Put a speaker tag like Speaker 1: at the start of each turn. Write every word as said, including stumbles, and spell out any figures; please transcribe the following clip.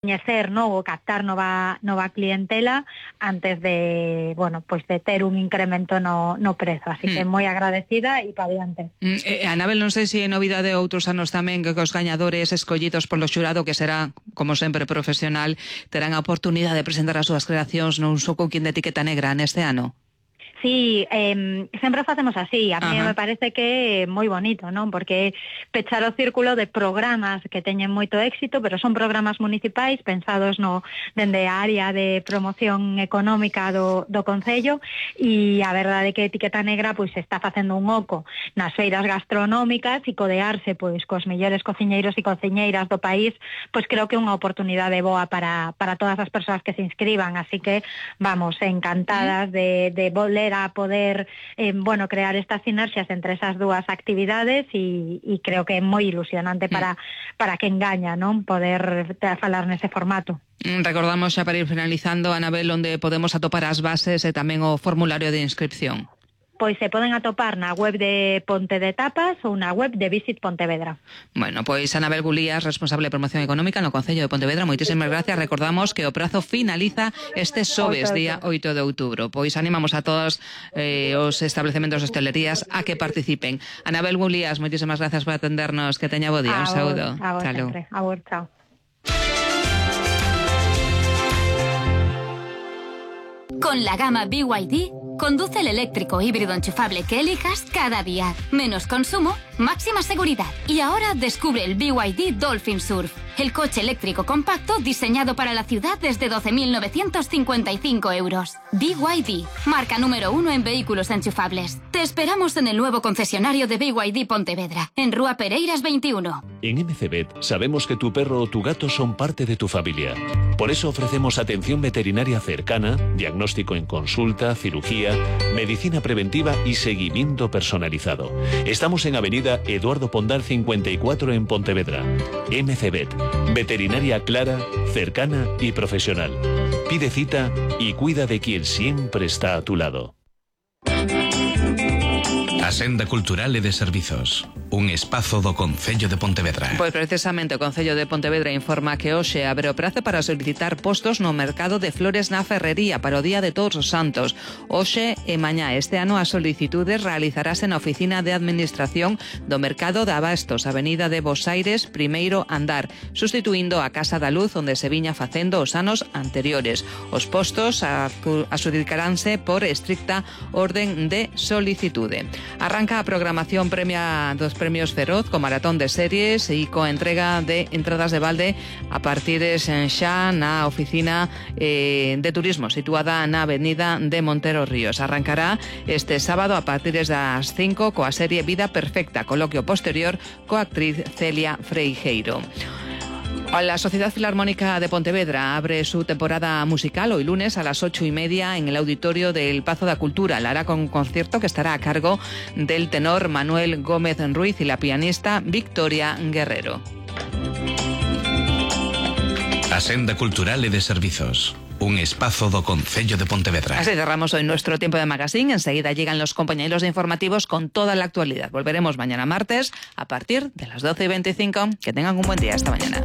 Speaker 1: coñecer, ¿no? O captar nova nova clientela antes de, bueno, pues de ter un incremento no, no prezo, así mm. que moi agradecida e pa diante.
Speaker 2: Mm, eh, Anabel, non sei se é novidade outros anos tamén que os gañadores escollidos polo xurado, que será, como sempre, profesional, terán a oportunidade de presentar as súas creacións nun só cooking de etiqueta negra neste ano.
Speaker 1: Sí, eh, sempre facemos así, a mí me parece que é moi bonito, non? Porque pechar o círculo de programas que teñen moito éxito, pero son programas municipais pensados no dende a área de promoción económica do, do Concello, e a verdade é que Etiqueta Negra pois está facendo un oco nas feiras gastronómicas e codearse pois cos mellores cociñeiros e cociñeiras do país, pois creo que é unha oportunidade boa para, para todas as persoas que se inscriban, así que vamos, encantadas de, de volver a poder eh, bueno, crear estas sinerxias entre esas dúas actividades e, e creo que é moi ilusionante para, para quen gaña, non? Poder falar nese formato.
Speaker 2: Recordamos xa para ir finalizando, Anabel, onde podemos atopar as bases e tamén o formulario de inscripción.
Speaker 1: Pois se poden atopar na web de Ponte de Tapas ou na web de Visit Pontevedra.
Speaker 2: Bueno, pois Anabel Gulías, responsable de promoción económica no Concello de Pontevedra, moitísimas gracias. Recordamos que o prazo finaliza este xoves, día oito de outubro. Pois animamos a todos eh, os establecementos de hostelerías a que participen. Anabel Gulías, moitísimas gracias por atendernos. Que teña bo día. Un saúdo.
Speaker 1: A vos sempre. A vos, chao.
Speaker 3: Con la gama B Y D, conduce el eléctrico híbrido enchufable que elijas cada día. Menos consumo, máxima seguridad. Y ahora descubre el B Y D Dolphin Surf, el coche eléctrico compacto diseñado para la ciudad desde doce mil novecientos cincuenta y cinco euros. B Y D, marca número uno en vehículos enchufables. Te esperamos en el nuevo concesionario de B Y D Pontevedra, en Rúa Pereiras veintiuno.
Speaker 4: En M C Vet sabemos que tu perro o tu gato son parte de tu familia. Por eso ofrecemos atención veterinaria cercana, diagnóstico en consulta, cirugía, medicina preventiva y seguimiento personalizado. Estamos en Avenida Eduardo Pondal cincuenta y cuatro en Pontevedra. M C Vet, veterinaria clara, cercana y profesional. Pide cita y cuida de quien siempre está a tu lado.
Speaker 5: A Senda Cultural e de Servizos, un espazo do Concello de Pontevedra.
Speaker 2: Pois precisamente o Concello de Pontevedra informa que hoxe abre o prazo para solicitar postos no mercado de flores na Ferrería para o Día de Todos os Santos. Hoxe e mañá este ano as solicitudes realizarase na Oficina de Administración do Mercado de Abastos, Avenida de Bos Aires, primeiro andar, sustituindo a Casa da Luz onde se viña facendo os anos anteriores. Os postos adxudicaránse por estricta orden de solicitude. Arranca a programación premia dos premios Feroz co maratón de series e co entrega de entradas de balde a partir de xa na oficina eh, de turismo situada na avenida de Montero Ríos. Arrancará este sábado a partir das cinco coa serie Vida Perfecta, coloquio posterior coa actriz Celia Freijeiro. La Sociedad Filarmónica de Pontevedra abre su temporada musical hoy lunes a las ocho y media en el auditorio del Pazo da Cultura. La hará con un concierto que estará a cargo del tenor Manuel Gómez Ruiz y la pianista Victoria Guerrero.
Speaker 5: A Senda Cultural e de Servizos, un espazo do Concello de Pontevedra.
Speaker 2: Así cerramos hoy nuestro tiempo de magazine. Enseguida llegan los compañeros de informativos con toda la actualidad. Volveremos mañana martes a partir de las doce y veinticinco. Que tengan un buen día. Hasta mañana.